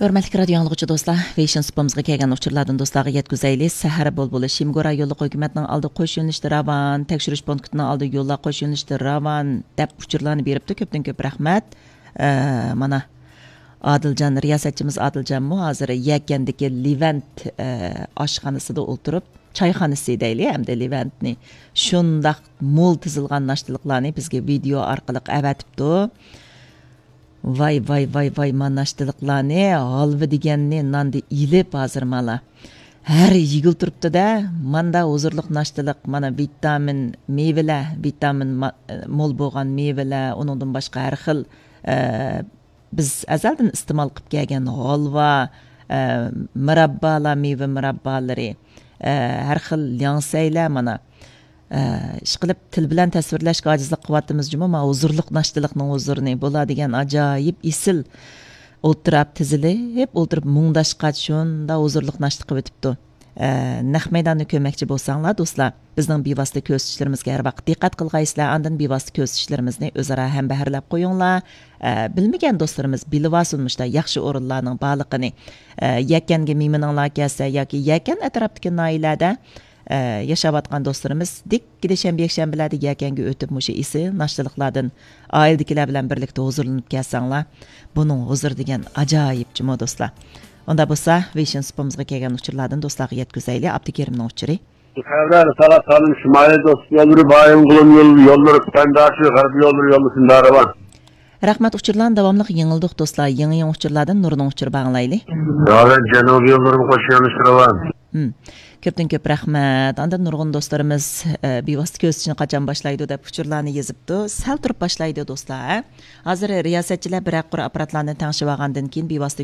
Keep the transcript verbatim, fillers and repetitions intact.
ھۆرمەتلىك رادىيو ئاڭلىغۇچى دوستلار، ۋېيشىن سۇپىمىزغا كەلگەن ئۇچۇرلاردىن دوستلارغا يەتكۈزەيلى. سەھەر بۇلبۇلى، شىمگورا يوللۇق ھۆكۈمەتنىڭ ئالدى قوش يۆنىلىشتە راۋان، تەكشۈرۈش پونكىتىنىڭ ئالدى يوللار قوش يۆنىلىشتە راۋان، دەپ ئۇچۇرلارنى بېرىپتۇ. كۆپتىن كۆپ رەھمەت. ئە، مانا، ئادىلجان، رىياسەتچىمىز ئادىلجانمۇ ھازىر يەكەندىكى لېۋەنت، ئە، ئاشخانىسىدا ئولتۇرۇپ، چايخانىسى دەيلى، ئەمدى لېۋەنتنى شۇنداق مول تىزىلغان ناشتىلىقلارنى بىزگە ۋىدېئو ئارقىلىق ئەۋەتىپتۇ. ۋاي، ۋاي، ۋاي، ۋاي، ما ناشتىلىقلارنى، ھالۋا دېگەننى ناندا ئېلىپ ھازىر مالا. ھەر يېگىلى تۇرۇپتۇ-دە، ماندا ھۇزۇرلۇق ناشتىلىق، مانا ۋىتامىن مېۋىلەر، ۋىتامىن ما-، مول بولغان مېۋىلەر، ئۇنىڭدىن باشقا ھەر خىل، ئە، بىز ئەزەلدىن ئىستېمال قىلىپ كەلگەن ھالۋا، ئە، مۇراببالار، مېۋە مۇراببالىرى، ئە، ھەر خىل لياڭسەيلەر، مانا، ئە، ئىشقىلىپ، تىل بىلەن تەسۋىرلەشكە ئاجىزلىق قىلىۋاتىمىز جۇمۇ، ما ھۇزۇرلۇق ناشتىلىقنىڭ ھۇزۇرىنى. بۇلار دېگەن ئاجايىپ ئېسىل ئولتۇراپ تىزىلىپ، ئولتۇرۇپ مۇڭداشقاچ شۇنداق ھۇزۇرلۇق ناشتا قىلىۋېتىپتۇ. ئە، نەق مەيداننى كۆرمەكچى بولساڭلار، دوستلار، بىزنىڭ بىۋاسىتە كۆرسىتىشلىرىمىزگە ھەر ۋاقىت دىققەت قىلغايسىلەر، ئاندىن بىۋاسىتە كۆرسىتىشلىرىمىزنى ئۆزئارا ھەمبەھىرلەپ قويۇڭلار. ئە، بىلمىگەن دوستلىرىمىز بىلىۋالسۇن مۇشۇنداق ياخشى ئورۇنلارنىڭ بارلىقىنى. ئە، يەكەنگە مېھمىنىڭلار كەلسە ياكى يەكەن ئەتراپتىكى ناھىيەلەردە ئە، ياشاۋاتقان دوستلىرىمىز دىككىدە شەنبە، يەكشەنبىلەردە يەكەنگە ئۆتۈپ، مۇشۇ ئېسىل ناشتىلىقلاردىن ئائىلىدىكىلەر بىلەن بىرلىكتە ھۇزۇرلىنىپ كەلسەڭلار، بۇنىڭ ھۇزۇرى دېگەن ئاجايىپ جۇمۇ، دوستلار. ئۇنداق بولسا، ۋېيشىن سۇپىمىزغا كەلگەن ئۇچۇرلاردىن دوستلارغا يەتكۈزەيلى، ئابدۇكېرىمنىڭ ئۇچۇرى. خەۋەر، سالا سالىم، شىمالىي دوستلۇق يوللىرى، بايىنغولىن يوللىرى، يوللىرى، پەنداشى، غەربىي يوللىرى، يوللىرى شۇنداق راۋان. رەھمەت، ئۇچۇرلارنى داۋاملىق يېڭىلىدۇق، دوستلار. يېڭى، يېڭى ئۇچۇرلاردىن نۇرنىڭ ئۇچۇرى باغلايلى. راۋان، جەنۇبىي يوللىرىمۇ قوش يۆنىلىشتە راۋان. ھىم. كۆپتىن كۆپ رەھمەت. ئاندىن نۇرغۇن دوستلىرىمىز، ئە، بىۋاسىتە كۆرسىتىشنى قاچان باشلايدۇ دەپ ئۇچۇرلارنى يېزىپتۇ. سەل تۇرۇپ باشلايدۇ، دوستلار، ھە؟ ھازىر رىياسەتچىلەر بىرەر قۇر ئاپپاراتلارنى تەڭشىۋالغاندىن كېيىن بىۋاسىتە